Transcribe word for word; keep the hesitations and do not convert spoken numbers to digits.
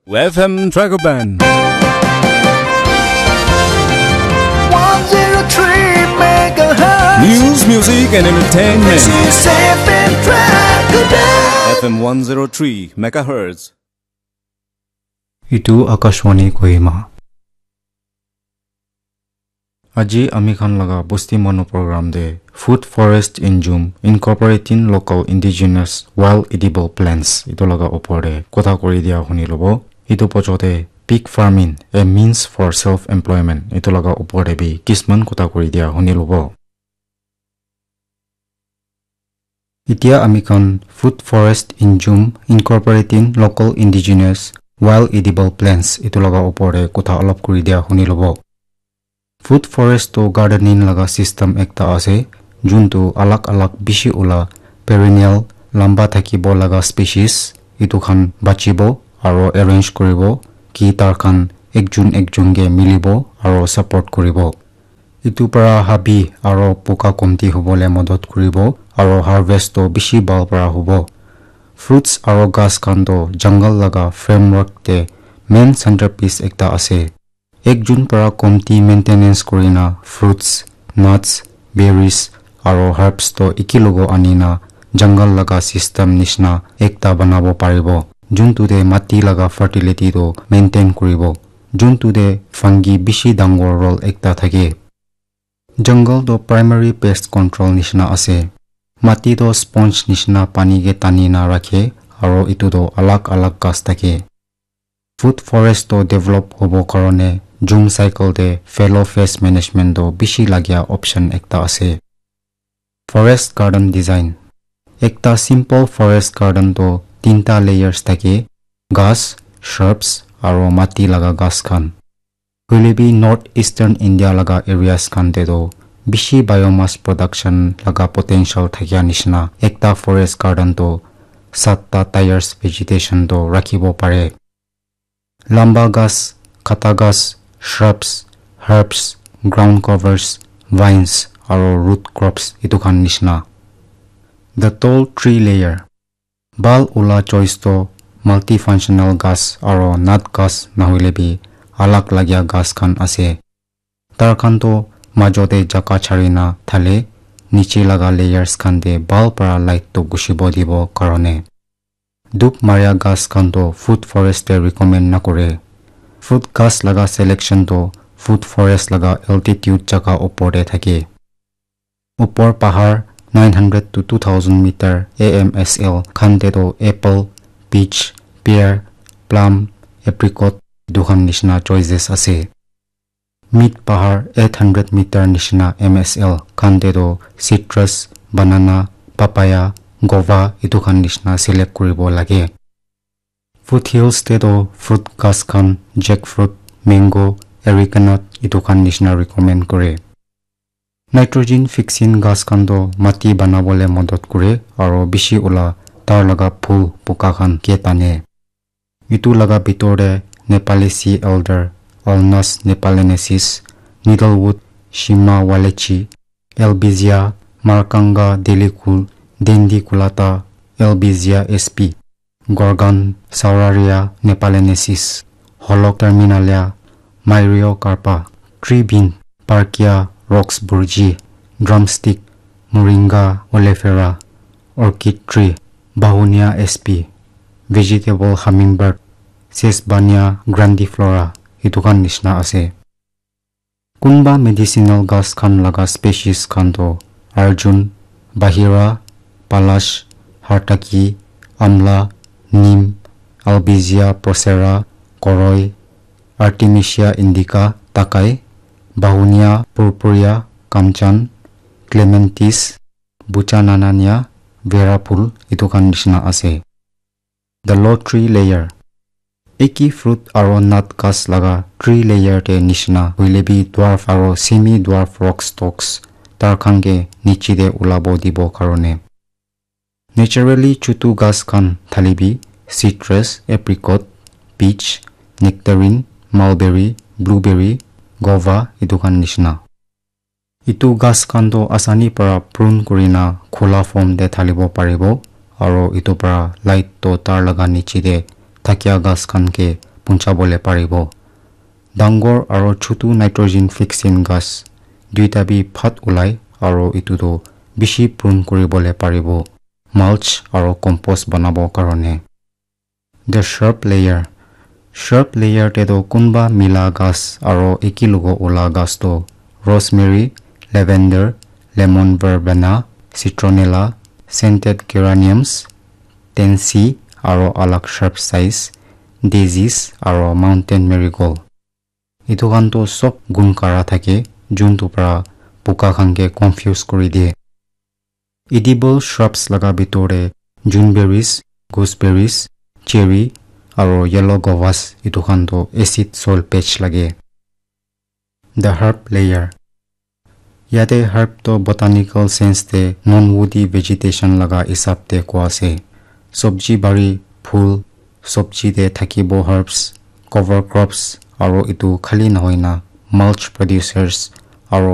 F M Dragon Band. One zero three megahertz. News, music, and entertainment. This is F M Dragon Band. F M one zero three megahertz. Itu Akashvani Kohima. Aji ami khan laga Bosti Manu program de Food Forest Injum Incorporating Local Indigenous Wild Edible Plants itu laga opor de kotha kuri dia huni lobo. Itu pochote Pig Farming, a Means for Self-Employment itu laga opor de bi kisman kotha kuri dia huni lobo. Itia ami khan Food Forest Injum Incorporating Local Indigenous Wild Edible Plants itu laga opor de kotha olop kuri dia huni lobo. Food forest to gardening laga system ekta ase, juntu alag alag bishi ula perennial lamba thakibo laga species itu khan bachibo aro arrange kuribo ki tar khan ekjun ekjun ke milibo aro support kuribo. Itu para habi aro poka komti hobole modot kuribo aro harvest to bishi bhal para hobo. Fruits aro ghas khan to jungle laga framework te main centerpiece ekta ase. Ekjun para komti maintenance kurina fruits, nuts, berries aro herbs to ekilogo anina jungle laga system nishina ekta banabo paribo. Juntu te mati laga fertility to maintain kuribo. Juntu te fungi bishi dangor role ekta thake. Jungle to primary pest control nishina ase. Mati to sponge nishina pani ke tani na rakhe aro itu to alag alag ghas thake. Food forest to develop hobo karone jum cycle te fellow pest management to bishi lagia option ekta ase. Forest garden design. Ekta simple forest garden to tinta layers thake, ghas, shrubs aro mati laga ghas khan. Hoile bi North Eastern India laga areas khan te toh bishi biomass production laga potential thakia nishina ekta forest garden toh satta types vegetation toh rakhibo pare. Lamba ghas, khata ghas, shrubs, herbs, ground covers, vines, aro root crops etu khan nishina. The tall tree layer. Bhal ula choice toh multifunctional ghas aro nut ghas nahoile bi alag lagia ghas khan ase. Tar khan toh majo te jaka chari na thale niche laga layers khan te bhal para light toh gushibo dibo karone. Dup maria ghas khan toh food forest te recommend nakore. Food ghas laga selection toh food forest laga altitude jaka opor te thake. Upor pahar nine hundred to two thousand meter A M S L khan te toh apple, peach, pear, plum, apricot etu khan nishina choices ase. Mid pahar eight hundred meter nishina M S L khan te toh citrus, banana, papaya, guava etu khan nishina select kuribo lage. Foothills te toh fruit ghas khan, jackfruit, mango, areca nut etu khan nishina recommend kore. Nitrogen fixing ghas khan toh mati banabole modot kore aro bishi ula tar laga phul poka khan ke tane. Etu laga bitor te Nepali sea elder, Ulmus nepalensis, needlewood, shima wallacei, albizia, markanga delicul, dendiculata, albizia S P, gorgon sauraria nepalensis, holocterminalia, myriocarpa, tree bean, parkia roxburghii, drumstick, moringa oleifera, orchid tree, begonia S P, vegetable hummingbird, Sesbania grandiflora etu khan nishina ase. Kunba medicinal ghas khan laga species khan toh arjun, bahira, palash, hartaki, amla, neem, albizia procera, koroi, artemisia indica, takai, begonia purpurea, kamchan, clematis, buchananania, vera phul etu khan nishina ase. The low tree layer. Eki fruit aro nut ghas laga tree layer te nishina hoile bi dwarf aro semi dwarf rock stalks tar khan ke niche te ulabo dibo karone. Naturally chutu ghas khan thali bi citrus, apricot, peach, nectarine, mulberry, blueberry, guava etu khan nishina. Etu ghas khan toh asani para prune kurina khula form te thalibo paribo, aro etu para light toh tar laga niche te thakia ghas khan ke punchabole paribo. Dangor aro chutu nitrogen fixing ghas duita bi phat ulai aro etu toh bishi prune kuribole paribo, mulch aro compost banabo karone. The shrub layer. Shrub layer te toh kunba mila ghas aro eki logo ula ghas toh rosemary, lavender, lemon verbena, citronella, scented geraniums, tansy aro alag shrub size, daisies aro mountain marigold. Etu khan toh sob gun kara thake, juntu para puka khan ke confuse kuri diye. Edible shrubs laga bitor te juneberries, gooseberries, cherry aro yellow guavas etu khan toh acid soil patch lage. The herb layer. Yate herb toh botanical sense te non-woody vegetation laga hisab te koa ase. Sobji bari, phul, sobji te thakibo herbs, cover crops, aro etu khali nohoi na mulch producers